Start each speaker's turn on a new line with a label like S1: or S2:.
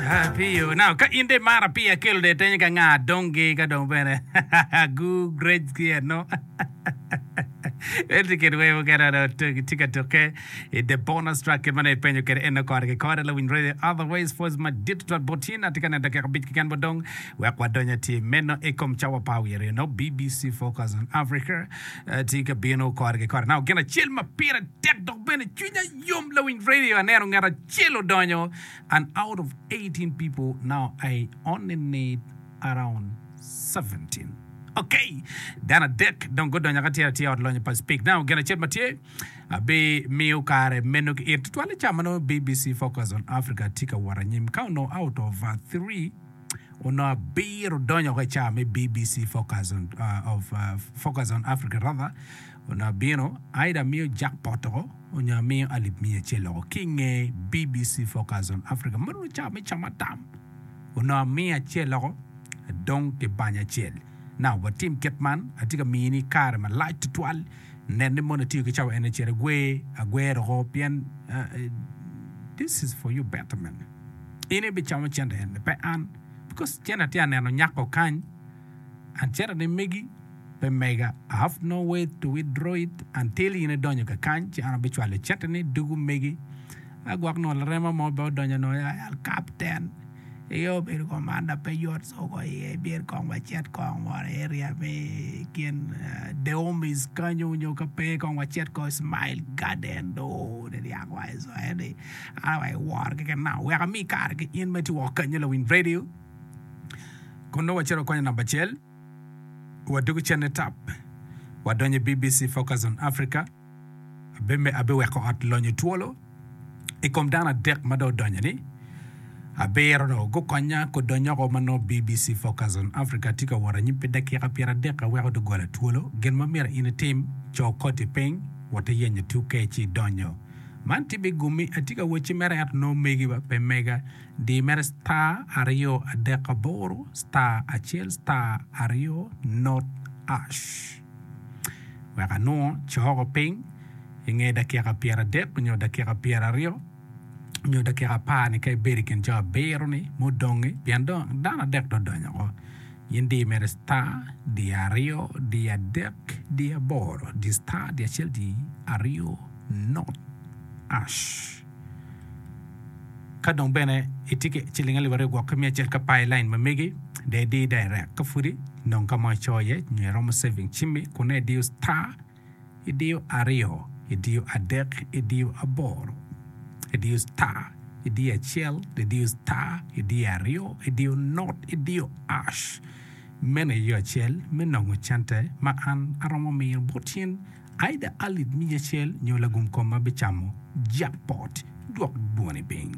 S1: Apiyo. Now, ka in dong imaro apiyo akelo dong itenyo ka nga dongi ka dong bene gu grades ki eno. Ento kit wer mukene dong tye ka tukke i the bonus track kit ma nongo ipenyo kwede eno kore ki kore lawiny radio otherwise pwoc madit tutwal bot in atye ka neno dakika abic keken bot dong wek wadony atir meno i kom cawa pa wiye aryo nongo BBC Focus on Africa eh, tye ka bino kore ki kore. Now gin acel ma pire tek dok bene cwinya yom lawiny radio aneno ngat acel odonyo and out of 18 people now I only need around 17 ok dano adek dong gudonyo ka tye atye ot lonyo pa speak now gin acel ma tye abi miyo kare meno ki in tutwal i ca ma nongo BBC Focus on Africa tye ka wot anyim ka onongo out of 3 onongo abiro donyo oko i ca me BBC Focus on, uh, of, uh, Focus on Africa rather Onongo abino, either amiyo jackpot oko onyo amiyo alip miya acel oko ki inge BBC Focus on Africa ma nongo cawa me camo atam onongo amiyo acel oko adong ki banya acel. Now watim kit man, atye ka mini kare malac tutwal nen ni mono itiyo ki cawa eni cit igwer agwera oko pien this is for you betterment. In ibicamo cente eni pe an because cente atye ka neno nyako kany and cente ni megi pe mega, I have no way to withdraw it until in idonyo kakany ci an abicwalo cente ni dugu megi. A gwok nongo larema mo bene odonyo nongo ya al kapten iyo obedo komanda pe yot so ko iye bin kong wacit kong mono i area me kin Deomis kanyo nyo ka pe kong wacit kong i Smile Garden do niryako wa i so eni an wa i woro keken now wek ami kare ki in ma itye woko kanyo lawiny radio kun nongo wacito wakonyo namba acel. Wadwogo cen i tap, wadonyo i BBC Focus on Africa. Abiweko ot lonyo twolo i kom dano adek ma dong odonyo-ni. Abiro dong gukonya kudonyoko ma nongo BBC Focus on Africa tye ka wot anyim pi dakika pyeradek aweko doggola twolo. Gin ma myero in itim, co koti piny, wot iyenyo tuke ci idonyo. Man tye bigummi, atye ka wocci mere ento nongo megi ba pe mega. Di mere star aryo adek aboro star acel star aryo not ash. Wek anwo coko piny i nge dakika pyeradek nyo dakika pyeraryo nyo dakika apar ni ka ibedo i kin jo abiro ni mudongi pien dong dano adek dong odonyo oko. In di mere star di aryo di adek di aboro di star di acel di aryo not ash. Ka dong bene itye ki ciling alip aryo gwok ki miya acel ka pa i lain ma megi, dong idi direct. Ka pudi nong ka mo icoyo iye nyo iromo saving cimmi kun nongo idiyo star, idiyo aryo, idiyo adek, idiyo aboro, idiyo star, idiyo acel, idiyo star, idiyo aryo, idiyo not, idiyo ash. Meno aye yo acel me nongo cente ma an aromo miyo bot in. Either alip miya acel nyo lagum kom ma bicamo jackpot. Dwok dwoni piny.